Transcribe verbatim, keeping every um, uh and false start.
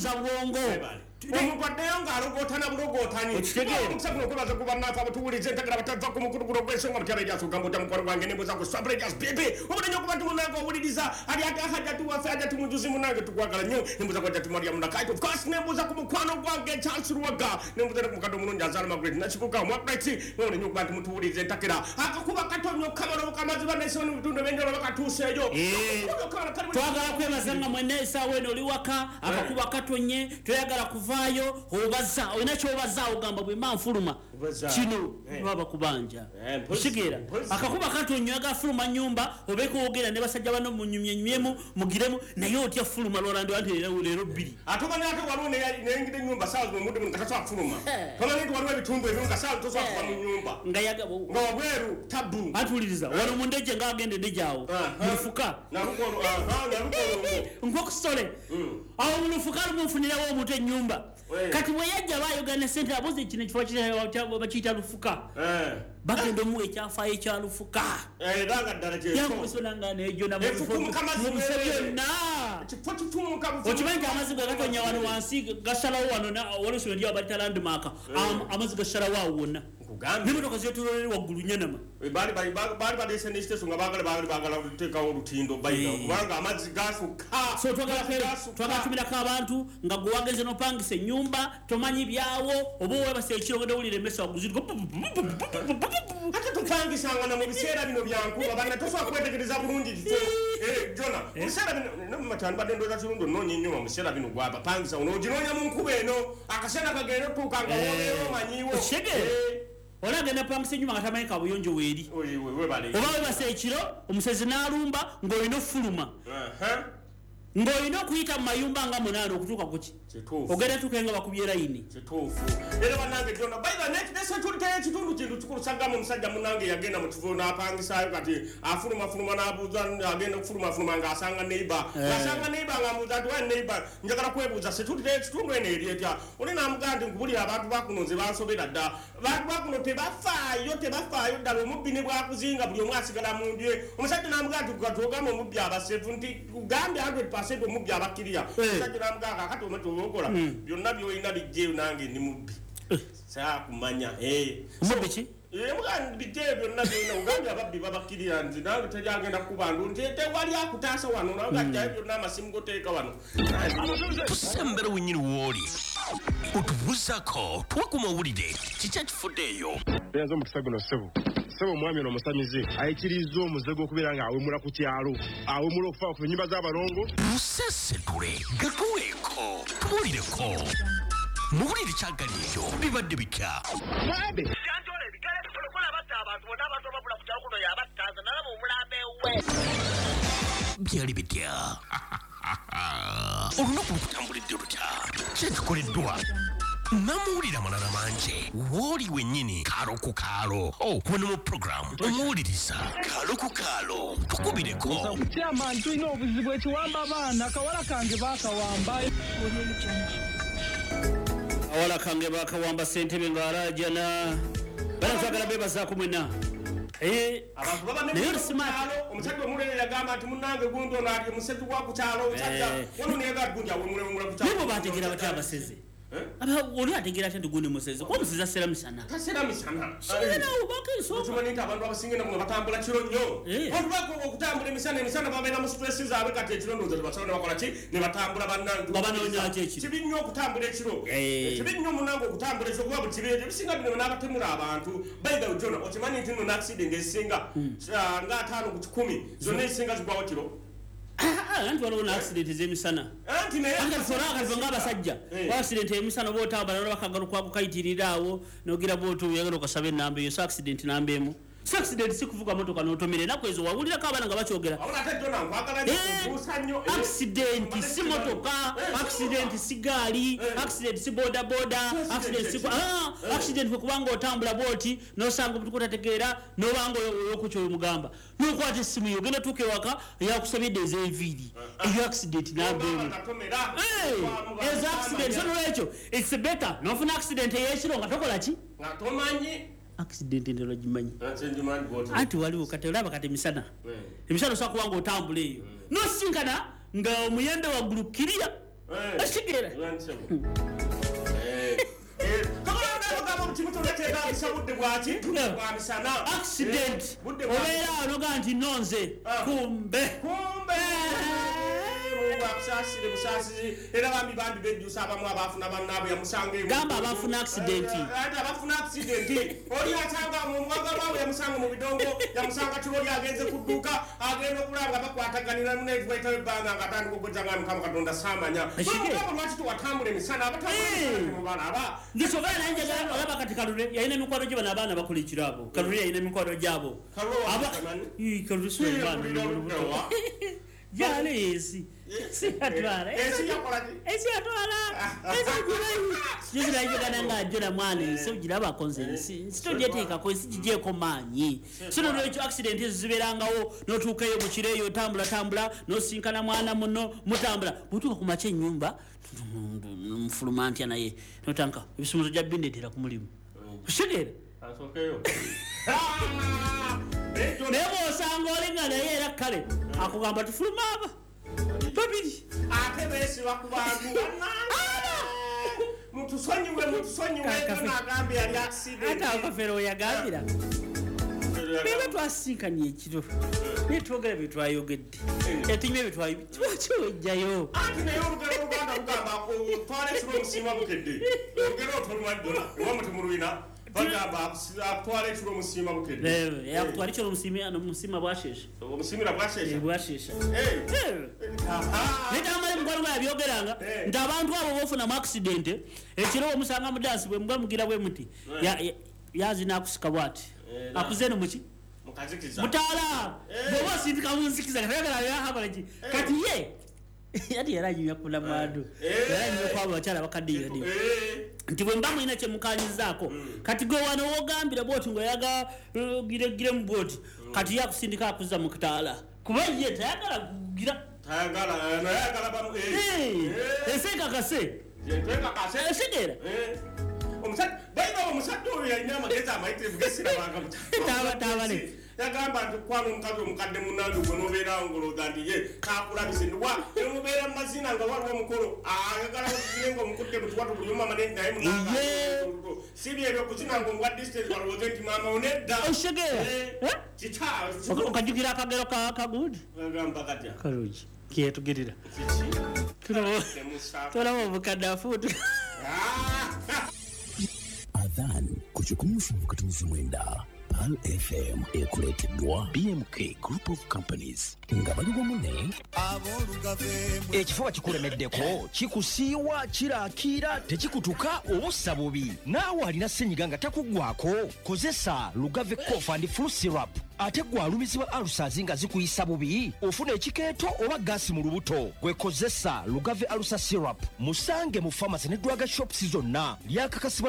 Tuwumuza bwongo. Omuntu addeyo ng'alogootana bulogootanyi. Omukisa guno okwebaza ku bannaffe abatuwuliza entegera batava ku mukulu guno ogw'ensonga mutyaba eryasooka mbuta mukwano gwange nembuza ku Swabregas bebe obulenya okuba nti munange owuliriza ali ate Hajjati waffe, Hajjati Mujuzi munange, tukwagala nnyo. Nembuza ku Hajjati Mariam Nakaito, of course, nembuza ku mukwano gwange Charles Luwaga, nembuza ne ku mukadde omulungi azaala Margaret Nakibuga Omwagreti. Obulenya okuba nti mutuwuliriza entakera akakuba katonyo kamala obukamazi bannaisoni mu bitundu ebyenjawulo bakatuuseeyo. Twagala kwebaza nga mwenna essaawa eno oli waka, akakuba katonye, toyagala kuvaayo, obaza olina kyobaza, ogamba bwe mba nfuluma kino baba kubanja. Okitegeera? Akakuba katonye, oyagala fuluma nyumba obeeko wogenda ne basajja bano munyumyenyumyemu mugiremu, naye otya fuluma lwalandi anti leero bbiri. Ate omanyi ate waliwo neyingidde ennyumba saawa zino omudde muno nga tasobola kufuluma. Tomanyi nti waliwo ebitundu ebimu nga saawa tosobola kuva mu nnyumba nga yaga nga wabweru tabu. Atuwuliriza wano mu ndejje ng'agenda endejje awo mu lufuka nkokusole awo mu lufuka lumunfunirawo omuntu ennyumba. Kati bwe yajja bayogana sente abuze kino ekifo bakiyita Lufuka, bagenda omuwa ekyafaayo ekya Lufuka. Era nga ddala kyekyo. Yakusonanga nejo namubise byonna. Okimanyi nti amazzi gwe gatonya wano wansi gasalawo wano, waliwo essomero lyawo balita Landmark, amazzi gasalawo awo wonna nemotoka zetololere waggulu nyanama. Baali baali baleese n'ekiteeso nga baagala baali baagala kuteekawo olutindo bayina kubanga amazzi gasukka. So twagala tumirako abantu nga gwe wagenze nopangisa ennyumba tomanyi byawo, oba owebasa ekiro ogenda owulira emmese waggulu ziriko. Ate tupangisanga na mu biseera bino byankuba banna tosobola kwetegereza bulungi kifo jona mu biseera bino matani badde ndowooza kirungi onoonya ennyumba mu biseera bino gwabapangisa onooginoonya mu nkuba eno akaseera kagenda otuuka nga wobeera omanyiwo. Okitegeera? Oli agenda pangisa ennyumba nga tamanyi kabuyonjo weeri, oba webasa ekiro omusezi n'alumba ng'olina ofuluma ng'olina okuyita mu mayumba nga munaana okutuuka kuki ogenda tuuka nga bakubye layini. Kituufu era bannange jona baitha ne security y'ekitundu kintu kikulu. Sagamba omusajja munange yagenda mu kifo n'apangisaayo, kati afulumafuluma n'abuuza, agenda okufulumafuluma ng'asanga neighbor ng'asanga neighbor ng'amubuuza nti, "Wa neighbor, njagala kwebuuza security y'ekitundu eno eri etya?" Oli n'amugamba nti, "Nkubulira, abantu bakuno nze bansobera dda. Abantu bakuno tebafaayo, tebafaayo ddala. Omubbi ne bwakuzinga buli omu asigala mu nju ye." Omusajja n'amugamba nti, "Katwogamba omubbi abasefu nti kugambye kikumi omubbi abakkirira." Omusajja n'amugamba, "Kakati omwe okola byonna byolina bijjeeyo, nange ndi mubbi saakumanya." Omubbi ki? Bijjeeyo byonna byolina, ogambye ababbi babakkirira, nti nange teryagenda kukuba ndu nti tewali akutaasa wano, nawe gajjayo byonna amasimu goteeka wano. Tusembera wenyini wooli otubuuzako tuwe ku mawulire kiki ekifuddeeyo. Nze omukisa guno, ssebo, ssebo, omwami ono omusamize ayikiriza omuze gw'okubeera ng'awemula ku kyalo, awemula okufa ku nnyumba z'abalongo. Musesetule gatuweeko tubuulireko muwulire kyagali ekyo bibadde bitya. Mwambe. Janjola ebigere bikola batta abantu bonna, abantu ababula ku kyalo kuno yabattaza nalaba omulambo ewuwe. Byali bitya? Olunaku lukutambulidde lutya? Kyekikoleddwa namuwulira amalala mangi wooli wennyini kaalo ku kaalo. Oh, wano mu puroguramu omuwuliriza kaalo ku kaalo tukubireko. Chairman, tulina obuzibu ekiwamba abaana, kawala kange baakawamba. Awala kange bakawamba, ssentebe ng'alaajana. Bana twagala bebazaako mwenna. Eh, abantu baba naye oli smart. Omusajja omulere yagamba nti, "Munnange gundi ono ali musezi wa ku kyalo." Omusajja wano neyaga gundi awemulewemula ku kyalo. Naye bo bategeera batya abasezi? Aba oli ategeera atya nti gundi musezi, kuba omusezi asera misana? Tasera misana. Sigerawo bako ensonga. Okimanyi nti abantu abasinga namuno batambula kiro nnyo? Eh. Olubako okutambula emisana, emisana babeera mu stress zaabwe. Kati ekiro ndowooza tebasobola ne bakola ki ne batambula bannange. Nga banoonya ki ekiro? Kibi nnyo okutambula ekiro. Eh. Kibi nnyo munnange okutambula ekiro, kuba buli kibi ebisinga bino n'abatemula abantu. By the way, Jona, okimanyi nti nno n'accident ezisinga ah, nga ataano ku kikumi zonna ezisinga zigwawo kiro? Ah, anti waliwo n'accident ez'emisana. Anti naye Anti kati ffe akalife ng'abasajja Eh. accident emisana oba otambula nolaba akagalo kwako kayitirira awo nogira bwoti oyagala okasaba enamba eyo. So accident namba emu si accident si kuvuga motoka n'otomera. Ennaku ezo wawulirako abaana nga bakyogera. Wabula ate Jona nkwagala nnyo Eh, kubuusa nnyo. Eh, accident si motoka, Eh, accident si gaali, Eh. accident si boda boda, accident si ah, accident kwe kubanga otambula bwoti nosanga omuntu kutategeera nobanga okukyo omugamba nokwata essimu yo ogenda tuuka ewaka yakusabidde ez'enviiri. Eyo accident namba emu. Katomera. Eh, ezo accident. So nolwekyo it's better nofuna accident ey'ekiro nga tokola ki? Nga tomanyi. Accident endala gimanyi? Nze ngimanyi bw'oti. Anti waliwo kati olaba kati emisana, Eh. emisana osobola kuba nga otambula eyo nosinkana nga omuyembe waggulu kirya. Okitegeera? Accident obeera anoga nti nonze kumbe kumbe akusasire busasizi era bambi bambi bejjusa abamu abafuna bannaabwe yamusanga gamba abafuna accident ate abafuna accident oli asanga omwagalwa we yamusanga mu bidongo yamusanga kiroli agenze ku dduuka agenda okulaba nga bakwataganira munetuwaitawo ebbanga nga atandika okugeza nga Mukama Katonda saamanya mukama lwaki tewatambula emisana abatambula nsobola naye njagala olaba kati Kalule yalina emikwano gye bano abaana bakola ekiro abo Kalule yalina emikwano gyabo Kalule Sulaiman gyali ensi ensi yatwala ensi yatwala ensi ogimanyi gizirayigana nga ajjola mwana ensi ogirabako nze ensi ensi togyeteekako ensi gigyeko maanyi so nolwekyo accident ezo zibeerangawo n'otuukaeyo mu kiro eyo otambula tambula n'osinkana mwana muno mutambula bwotuuka ku makya ennyumba nfuluma ntya naye notanka ebisumuzo gya bindeetera ku mulimu okitegeera naye bw'osanga oli nga naye era kale akugamba tufuluma aba babiri ate beesiba ku bantu mutusonyiwe mutusonyiwe nagambye yali accident ate akafere oyagambira beba twasinkanye ekiro naye twogera bye twayogedde etunywa bye twayogedde lwaki wejjayo anti naye olugero oluganda lugamba twala ekiro omusiima bukedde olugero otolwaddola ewamu temulwina bagamba akutwala ekiro omusiima bukedde akutwala ekiro omusiima bwashesha omusiimira bwashesha bwashesha naye tamale mukwano gwe yabyogeranga nti abantu abo bofunamu accident ekiro omusanga mu dansi bwe muba mugira bwe muti yazina akusika bwati akuze no muki mutaala bw'oba osindika mu nzikiza kati kati ye yati yali anyumya ku namwandu yali anyumya kwabo bakyala bakadde nti bwe mba mulina kye mukanyizaako kati gwe wano wogambira bwoti ng'oyaga giregiremu bwoti kati ye akusindika akuzza mu kitaala kuba ye tayagala kugira ensi ekakase esitegeera omusajja oyo yalina amagezi amayitirivu gesirabanga yagamba nti kwana omukazi omukadde munnange gwe nobeerawo ng'olowooza nti ye kakulabise ndiwa nemubeera mu mazina nga waliwo omukolo ayagala okuzine ng'omukutte mu kiwato buli omu amane naye munange si byebyo okuzina ng'omuwa distance balowooze nti maama wo nedda okitegeera okajjukira akagero kagundi agamba katya kalungi kiyetugirira tolaba obukadde afuutu Adhan ku kikumi musanvu katonzi mwenda Pearl F M ekuleeteddwa B M K Group of Companies nga bali wamu ne ekifuba kikulemeddeko kikusiiwa kirakiira tekikutuka obussa bubi naawe alina ssenyiga nga takuggwako kozesa Lugave Cough and Flu Syrup ate gwe alumizibwa ulcers nga zikuyisa bubi ofuna ekikeeto oba gaasi mu lubuto gwe kozesa Lugave Ulcer Syrup musange mu pharmacy ne drug shops zonna lyakakasibwa.